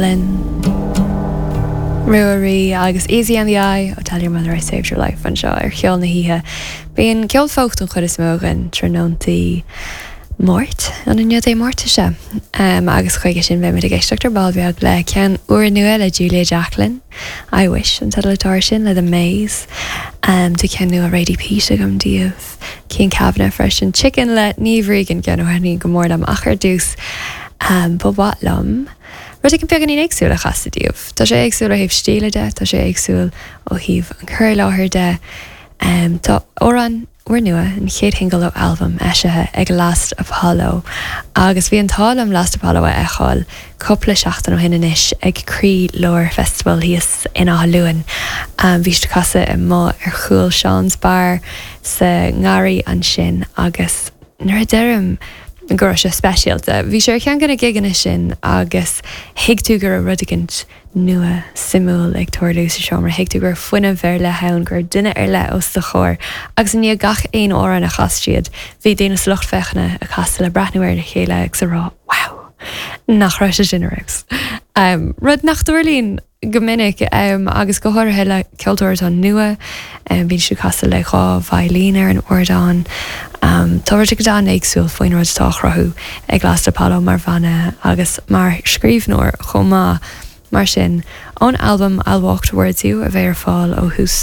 Linn. Ruairí agus Easy on the Eye ó Tell Your Mother I Saved Your Life anseo ar Cheol na hOíche. Bíonn ceol folk don chuid is mó againn tráthnóntaí Máirt, an inniu Dé Máirt is ea? Agus chuige sin beimid ag éisteacht ar ball beag le ceann úrnua le Julia Jacklin, I Wish an teideal atá air sin, le The Maze. Tá ceann nua Radie Peat agam daoibh, Cian Kavanagh freisin, Chicken le Niamh Regan, ceann a thaitníonn go mór liom ach ar dtús ba mhaith liom Rud éigin beagáinín éagsúil a chasadh daoibh. Tá sé éagsúil ó thaobh stíle de, tá sé éagsúil ó thaobh an cur i láthair de. Tá amhrán úrnua, an chéad shingil ó albam, eisithe ag Last Apollo agus bhí an t-ádh liom Last Apollo a fheiceáil cúpla seachtain ó shin anois ag Croí Lár Festival thíos in Áth Luain. Bhí siad ag casadh amuigh ar chúl Sean's Bar sa ngarraí ansin agus Nuair a deirim go raibh sé speisialta, bhí sé ar cheann de na gigeanna sin agus thuig tú go raibh rud éicint nua, suimiúil ag tarlú sa seomra, thuig tú go raibh fuinneamh ar leith ann, go raibh duine ar leith os do chomhair agus i ndiaidh gach aon amhrán a chas siad, bhí daoine sa lucht féachana ag casadh le breathnú ar a chéile agus a rá 'wow, nach raibh sé sin ar fheabhas'. Rud nach dtarlaíonn go minic, agus go háirithe le ceoltóir atá nua, bíonn siad ag casadh le 2 veidhlín ar an ardán. Tá rud éicint an-éagsúil faoin rud atá á chruthú ag Last Apollo mar bhanna agus mar scríbhneoir chomh maith. Mar sin, ón albam I'll Walk Towards You a bheidh ar fáil ó thús.